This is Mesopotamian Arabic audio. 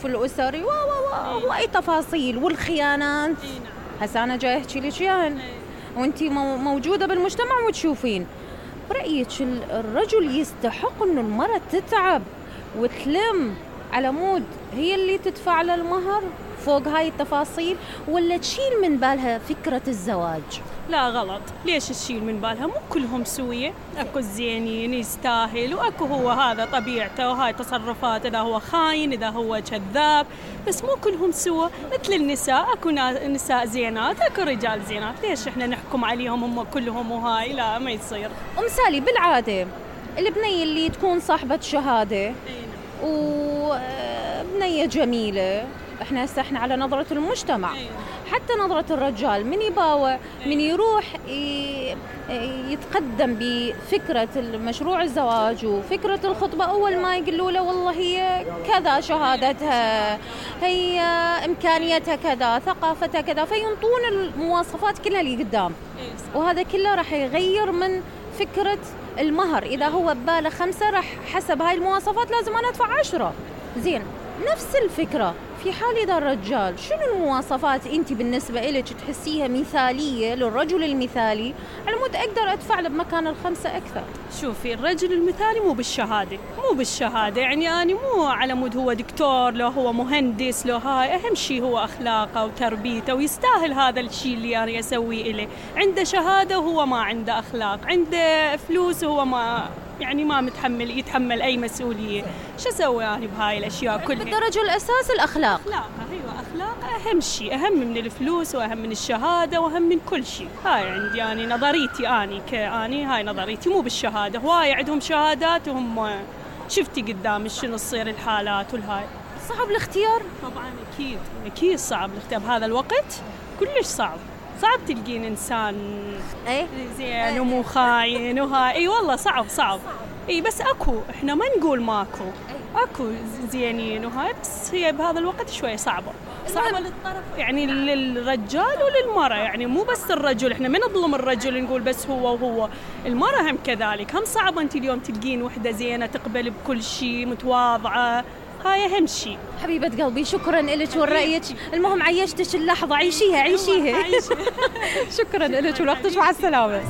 العنف الأسري واي تفاصيل والخيانات. هسه أنا جاي أحكي لك يعني وأنتي موجودة بالمجتمع وتشوفين. برأيك الرجل يستحق إنه المرأة تتعب وتلم على مود هي اللي تدفع للمهر فوق هاي التفاصيل، ولا تشيل من بالها فكرة الزواج؟ لا غلط. ليش تشيل من بالها؟ مو كلهم سوية، اكو الزينين يستاهل واكو هو هذا طبيعته وهاي تصرفات، اذا هو خاين اذا هو كذاب، بس مو كلهم سوا. مثل النساء اكو نساء زينات اكو رجال زينات، ليش احنا نحكم عليهم هم كلهم وهاي؟ لا ما يصير. سالي بالعادة البنية اللي تكون صاحبة شهادة وبنية جميلة، احنا على نظرة المجتمع، حتى نظرة الرجال من يباوع من يروح يتقدم بفكرة المشروع الزواج وفكرة الخطبة، أول ما يقولوا له والله هي كذا شهادتها، هي إمكانيتها كذا، ثقافتها كذا، فينطون المواصفات كلها اللي قدام، وهذا كله راح يغير من فكرة المهر. إذا هو بباله 5 راح حسب هاي المواصفات لازم أنا أدفع 10. زين، نفس الفكرة في حال إذا الرجال، شنو المواصفات أنت بالنسبة إلك تحسيها مثالية للرجل المثالي على مود أقدر أدفع له بمكان 5 أكثر؟ شوفي، الرجل المثالي مو بالشهادة، يعني أنا مو على مود هو دكتور لو هو مهندس لو هاي، أهم شيء هو أخلاقه وتربيته ويستاهل هذا الشيء اللي أنا أسويه إليه. عنده شهادة وهو ما عنده أخلاق، عنده فلوس وهو ما يتحمل أي مسؤولية، شو أسوي أنا بهاي الأشياء كلها؟ بالدرجة الأساس الأخلاق. أخلاق أهم شيء، أهم من الفلوس وأهم من الشهادة وأهم من كل شيء. هاي عندي يعني نظريتي، هاي نظريتي، مو بالشهادة. هواي عندهم شهادات وهم شفتي قدام شنو تصير الحالات والهاي. صعب الاختيار طبعا، أكيد صعب الاختيار بهذا الوقت، كلش صعب تلقين إنسان زين ومو خاين وهاي. والله صعب. بس احنا ما نقول ماكو، اكو زينين وهاي، بس هي بهذا الوقت شوية صعبة للطرف، يعني للرجال وللمرأة، يعني مو بس الرجل، احنا ما نظلم الرجل نقول بس هو، المرأة هم كذلك، هم صعبة. انت اليوم تلقين وحدة زينة تقبل بكل شيء، متواضعة، هاي أهم شيء. حبيبة قلبي، شكرا لك ورأيك، المهم عيشتك اللحظة، عيشيها. شكرا لك ولوقتك، مع السلامة.